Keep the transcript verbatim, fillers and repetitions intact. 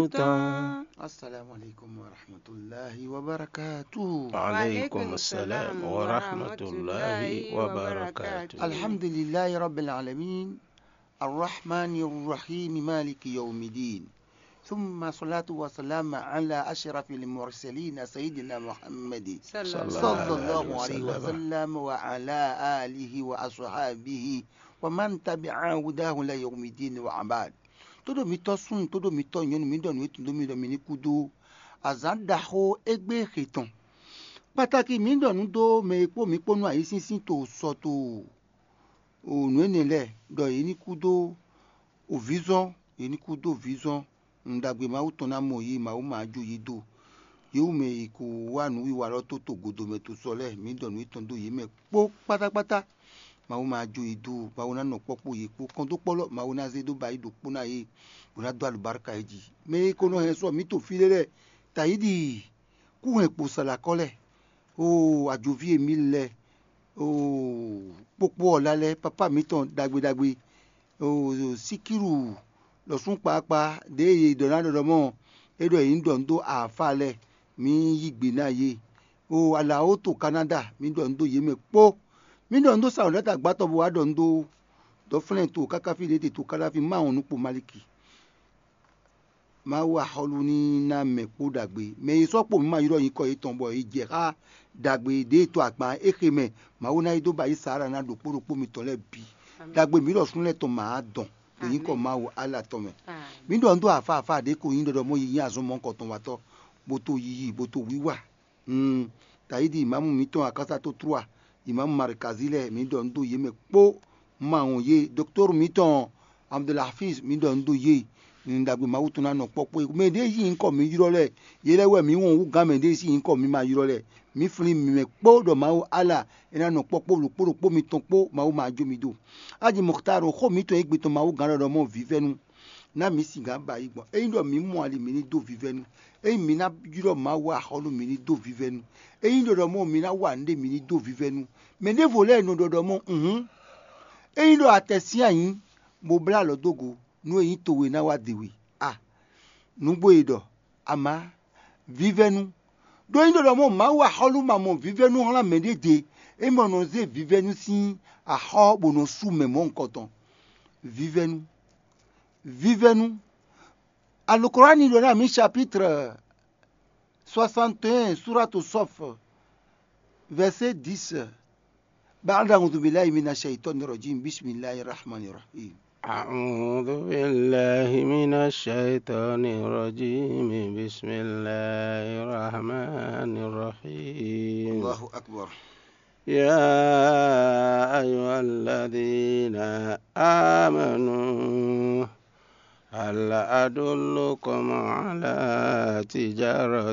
tɔn. Assalamu alaikum wa rahmatullahi wa barakatuh. Alaikum salam wa rahmatullahi wa barakatuh. Alhamdulillahi rabbil alamin. Arrahmanir rahim, maliki yawmiddin. Thumma salatu wa salam ala ashrafil mursalin sayyidina Muhammad sallallahu alaihi wa sallam wa ala alihi wa ashabihi wa man tabi'a hudahu la yawmiddin wa abad. Todo mitɔ sun, todo mitɔ nyɔnu, mi ɖɔ nǔ e tun dó mi ɖɔ mi ní kú dó azǎn ɖaxó égbé xe tɔn. Kpataki mi ɖɔ nǔ dó mɛ e kpó mi kpó nú ayǐsínsín to sɔ to o nǔ énɛ́ lɛ́ɛ, ɖɔ yě ní kú dó ovǐzɔ́n, yě ní kú dó vǐzɔ́n. Un ɖagbe Mawu tɔn ná mɔ yě, Mawu ma jó yě dó. Yě wú mɛ e ko wá nǔwiwa lɔ tó to godomɛ to sɔ lɛ́ɛ, mǐ ɖɔ nǔ étɔn dó yě mɛ kpó kpátákpátá. Mawu ma jó yě dó, Mawu ná nɔ kpɔ́ kpó yě kpó. Kɔn dó kpɔ́ lɔ, Mawu ná zé dó ba yí ɖokpó ná yě, bó ná dó alubáríka yě jí. Mɛ e ko nɔ hɛn sɔ mǐ to fí ɖé lɛ́ɛ, tayíɖi kú hɛn kpo salakɔ́ lɛ́ɛ, oo ajoví e mǐ lɛ́ɛ, oo kpókpó ɔ́ lá lɛ́ɛ, papá mǐtɔn ɖagbe ɖagbe, oo síkílu lɔ̌súnkpaakpa ɖěe è ɖɔ ná ɖɔ ɖɔ mɔ é ɖɔ yě ní ɖɔ nǔ dó afa lɛ́ɛ, mǐ yí gbe ná yě. Oo alawo to Kanáda, mǐ ɖɔ nǔ dó yě mɛ kpó. Mǐ ɖɔ nǔ dó Sawǔlɛ́ta gbátɔ bó wá ɖɔ nǔ dó dɔ̌flɛ́n to káká fí ɖě te to Kadáfi má wɔn nukpo Maliki. Mawu axɔ́lú ní ná mɛ kpó ɖagbe. Mɛ e sɔ́ kpo mǐ ma ylɔ́ nyǐkɔ yětɔn bɔ è jɛ xá ɖagbe ɖě e to agban é xe mɛ. Mawu ná yi dó ba yí Saala ná ɖokpó ɖokpó mitɔn lɛ́ɛ bǐ. Ɖagbe mǐ ɖɔ súnnu lɛ́ɛ tɔn mǎ dɔn ɖo nyǐkɔ Mawu Ala tɔn mɛ. Mǐ ɖɔ nǔ dó afa afa ɖě ko nyí ɖɔɖɔ mɔ yi nyí azɔn mɔ̌hunkɔtɔn watɔ́, bó to yiyi, bó to wiwa. Mm, Tayídi ìmámù mǐtɔn Akásá tó Tlúa, ìmámù Marikazi lɛ́ɛ, mǐ ɖɔ nǔ dó yě mɛ kpó. Ma wɔn yě, doktɔ́r mǐtɔn Abdulhafiz, mǐ ɖɔ nǔ dó yě. Nǔ ɖagbe Mawu tɔn ná nɔ kpɔ́ kpó. Mɛ ɖěe yí nyǐkɔ mǐ ylɔ́ lɛ́ɛ, yě lɛ́ɛ wɛ mǐ wɔn hú gǎn mɛ ɖěe sín nyǐkɔ mǐ ma ylɔ́ lɛ́ɛ. Mǐ flín mǐ mɛ kpó ɖɔ Mawu Ala é ná nɔ kpɔ́ kpó ɖokpó ɖokpó mitɔn kpó, Mawu ma jó mi dó. Aji Mɔxtáar, xó mǐtɔn e gbe tɔn Mawu gǎn ɖɔɖɔ mɔ vǐvɛ́nu. Ná mǐ singǎn ba yi gbɔn. Ényí ɖɔ mǐ mɔ ali, mǐ ní dó vívɛ́nu. Ényí mǐ ná ylɔ́ Mawu axɔ́ nú, mǐ ní dó vívɛ́nu. Ényí ɖɔ ɖɔ mɔ mǐ ná wa nǔɖé, mǐ ní dó vívɛ́nu. Mɛ ɖěvo lɛ́ɛ nɔ ɖɔ ɖɔ mɔ hǔn. Ényí ɖɔ atɛ sín ayǐ, bó blá alɔ dó go, nú e nyí towe ná wá de we. A nǔgbó e ɖɔ amá vívɛ́nu. Ɖó ényí ɖɔ ɖɔ mɔ Mawu axɔ́ nú ma mɔ vívɛ́nu hlán mɛ ɖé de, é mɔ nɔ zé vívɛ́nu sín axɔ́ bó nɔ sú mɛ mɔ̌hunkɔtɔn. Vívɛ́nu. Vívɛ́nu. Alukurani ɖɔ ná mǐ chapitre soixante et un, Suratu Sɔf, verset dix. Ba'da a'udhu billahi minash shaitanir rajim. Bismillahir rahmanir rahim. أعوذ بالله من الشيطان الرجيم. بسم الله الرحمن الرحيم. Allahu akbar. يا أيها الذين آمنوا هل أدلكم على تجارة